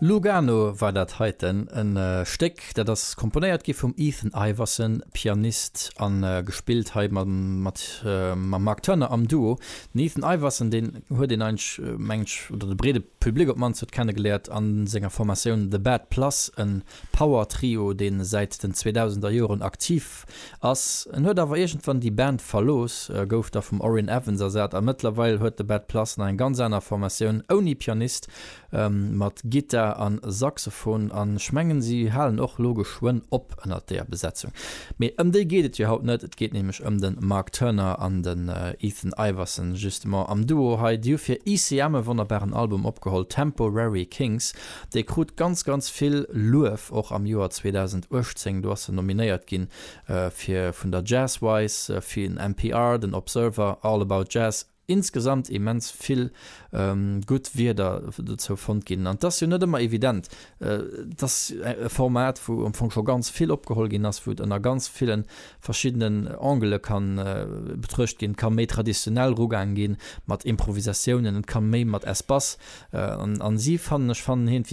Lugano war dat heiten, e Stéck, dat ass komponéiert gi vum Ethan Iverson, Pianist, a gespillt hei mam Mark Turner am Duo. Den Ethan Iverson, deen huet een eigentlech, mengen ech, oder de breede Public op d'mannst huet kennegeléiert a senger Formatioun The Bad Plus, e Power Trio, dee säit den 2000er Joren aktiv ass. En huet awer iergendwann déi Band verlooss, gouf da vum Orrin Evans ersat a mëttlerweil huet The Bad Plus nach eng ganz aner Formatioun ouni Pianist, Mat Gittar an Saxophon an ech mengen si halen och lo geschwënn op ënnert deeër Besetzung. Mee ëm déi geet et jo haut net, et geet nämlech ëm den Mark Turner an den Ethan Iverson justement am Duo hei. Déi hu fir ECM e wonnerbaren Album opgeholl, Temporary Kings. Dee krut ganz ganz vill Luef och am Joer 2018, do ass en nominéiert ginn fir vun der Jazzwise, fir den NPR, den Observer, All About Jazz. insgesamt immens vill gutt Wierder dozou fonnt ginn. An 't ass jo net ëmmer evident. Et ass e Format, wou am Fong scho ganz vill opgeholl ginn ass, wou et ënner ganz ville verschiddenen Angele ka betruecht ginn. Et ka méi traditionell erugaang ginn, mat Improvisatiounen, et ka méi mat Espace. An si fannen, ech fannen iergendwéi.